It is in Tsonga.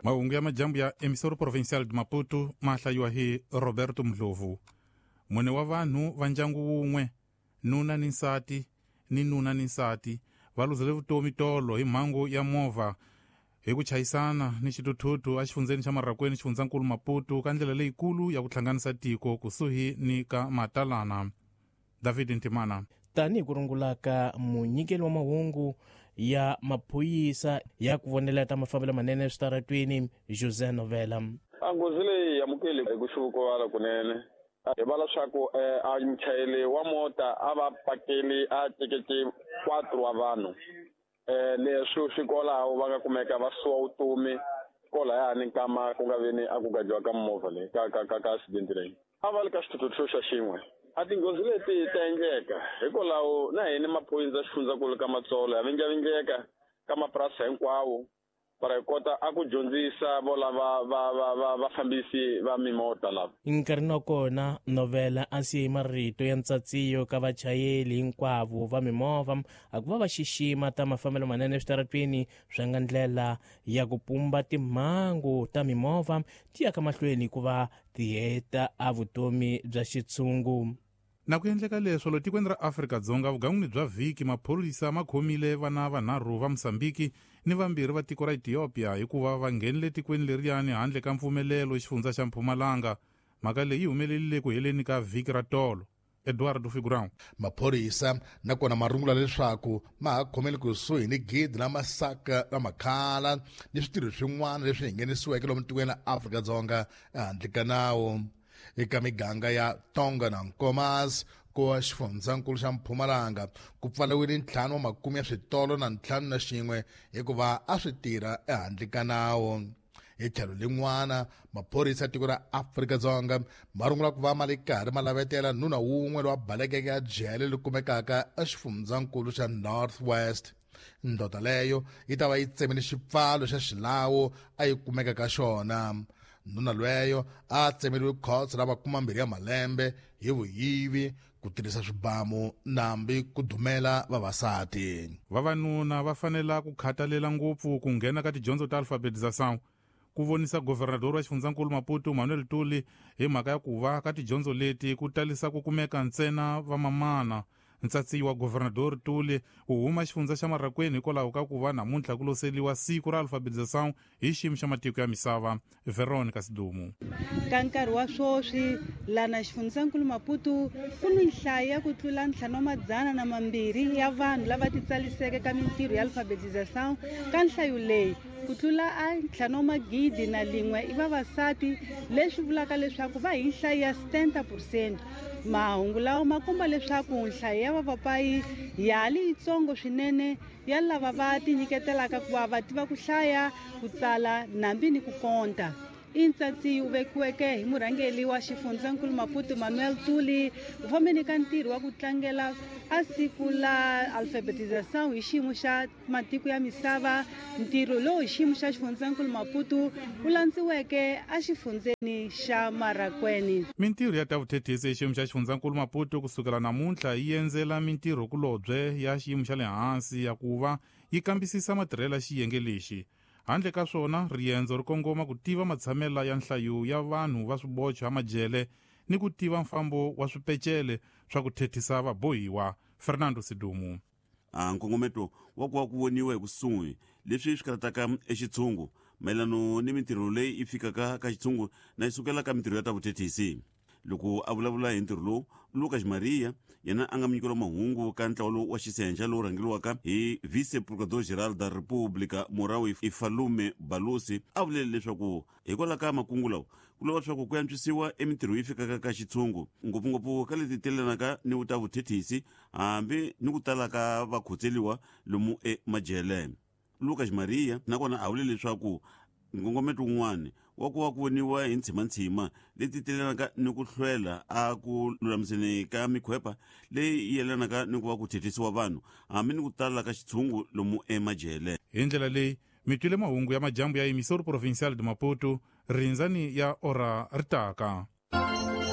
Mahungu ya majambu ya Emissora Provincial de Maputo ma hlayiwa hi Roberto Mdlovu. Mune wa vanhu va ndyangu wun'we, nuna ni nsati ni nuna ni nsati, va luzele vutomi tolo hi mhangu ya movha hi ku chayisana ni xithuthuthu exifundzeni xa Marraquene, xifundzankulu Maputo, ka ndlela leyikulu ya ku hlanganisa tiko kusuhi ni ka Matalana. David Ntimana. Tanihi ku rungulaka munyikeli wa mahungu ya maphorisa ya ku vonela ta mafambelo manene eswitaratweni, José Novela. A nghozi leyi hi amukeli hi ku xivukuvala kunene. Hi vala swa ku a muchayeri wa mota a va pakeli a tekeke 4 wa vanhu. Leswi swi kwalaho va nga kumeka va suwa vutomi kwalayani nkama ku nga veni a ku gajiwa ka movha leyi ka accident leyi. A va le ka xithuthuthu xa xin'we. A tinghozi leti ta endleka hikwalaho na hina maphorisa xifundzankulu ka Matsolo ya vinjavindleka ka mapurasi hinkwawo para hi kota a ku dyondzisa vo lava va vafambisi va mimota lava. Nkarhini wa kona Novela a siye marito ya ntsatsiyo ka vachayeri hinkwavo va mimovha a ku va va xixima ta mafambelo manene eswitaratweni swa nga ndlela ya ku pumba timhangu ta mimovha ti ya ka mahlweni ku va ti heta a vutomi bya xitshungu. Na ku endleka leswo lo tikweni ra Afrika-Dzonga vugangwini bya vhiki maphorisa ma khomile vana vanharhu va Mozambique ni vambirhi va tiko ra Ethiopia hikuva va nghenile tikweni leriyani handle ka mpfumelelo xifundza xa Mpumalanga. Mhaka leyi yi humelerile ku heleni ka vhiki ra tolo. Eduardo Figurão. Maphorisa nakona ma rungula leswaku ma ha khomele kusuhi ni gidi la masaka la makhala ni switirho swin'wana leswi hi nghenisiweke lomu tikweni la Afrika-Dzonga ehandle ka nawu. Eka miganga ya Tonga na Nkomas ku wa xifundzankulu xa Mpumalanga ku pfariwile 5 wa makume ya switolo na 51 hikuva a swi tirha ehandle ka nawu. Hi tlhelo lin'wana maphorisa ya tiko ra Afrika-Dzonga ma rungula ku va ma le karhi ma lavetela nuna wun'we loyi a balekeke a jele leri kumekaka exifundzankulu xa North West. Ndoda leyo yi ta va yi tsemile xipfalo xa xilawu a yi kumeka ka xona. Nuna lweyo a tsemeriwe khotso ra 20 ya malembe hi vuyivi, ku tirhisa swibamu nambi ku dumela vavasati. Vavanuna va fanela ku khathalela ngopfu ku nghena ka tidyondzo ta alfabetização, ku vonisa governador wa xifundzankulu Maputo Manuel Tuli hi mhaka ya ku va ka tidyondzo leti ku talisa ku kumeka ntsena vamamana. Ntsatsi wa governador Tuli u huma xifundza xa Marraquene hikwalaho ka ku va namuntlha ku loseliwa siku ra alfabetização hi xiyimo xa matiko ya misava. Veronica Sidumu. Ka nkarhi wa swoswi lana xifundzankulu Maputo ku ni nhlayo ya ku tlula 502 ya vanhu lava titsaliseke ka mintirho ya alfabetização. Ka nhlayo leyi ku tlula a 5,001 i vavasati, leswi vulaka leswaku va hi nhlayo ya 70%. Mahungu lawa ma komba leswaku nhlayo ya vavapayi ya ha li yitsongo swinene ya lava va tinyiketelaka ku va va tiva ku hlaya, ku tsala nambi ni ku konta. I ntsatsi wu vekiweke hi murhangeri wa xifundzankulu Maputo Manuel Tuli u fambeni ka ntirho wa ku tlangela a siku la alfabetização hi xiyimo xa matiko ya misava. Ntirho lowu hi xiyimo xa xifundzankulu Maputo wu landziweke exifundzeni xa Marraquene. Mintirho ya ta vuthethisi hi xiyimo xa xifundzankulu Maputo kusukela namuntlha yi endzela mintirho kulobye ya xiyimo xa le hansi ya ku va yi kambisisa matirhelo ya xiyenge lexi. Handle ka swona, riendzo ri kongoma ku tiva matshamela ya nhlayo ya vanhu va swibocho ya majele ni ku tiva mfambo wa swipecele swa ku thethisa vabohiwa. Fernando Sidumu. Nkongometo wa ku va ku voniwa hi kusuhi leswi swi karataka exitshungu mayelano ni mintirho leyi yi fikaka ka xitshungu na yi sukela ka mintirho ya ta vuthethisi. Loko a vulavula hi ntirho lowu, Lucas Maria yena a nga munyikeli wa mahungu ka ntlawa lowu wa xisenxa lowu rhangeriwaka hi Vice Procurador Geral da República Morawu Ifalume Balusi a vulele leswaku hikwalaho ka makungu lawa ku lava leswaku ku antswisiwa emintirho yi fikaka ka xitshungu ngopfungopfu ka leti telelanaka ni ta vuthethisi hambi ni ku tala ka vakhotseliwa lomu emajele. Lucas Maria nakona a vule leswaku nkongometo wun'wana wa ku va ku voniwa hi ntshimantshima leti telelanaka ni ku hlwela a ku lulamiseni ka mikhwepa leyi yelanaka ni ku va ku thethisiwa vanhu hambi ni ku tala ka xitshungu lomu emajele. Hi ndlela leyi mi twile mahungu ya majambu ya Emissora Provincial de Maputo, rindzani ya ora ri taka.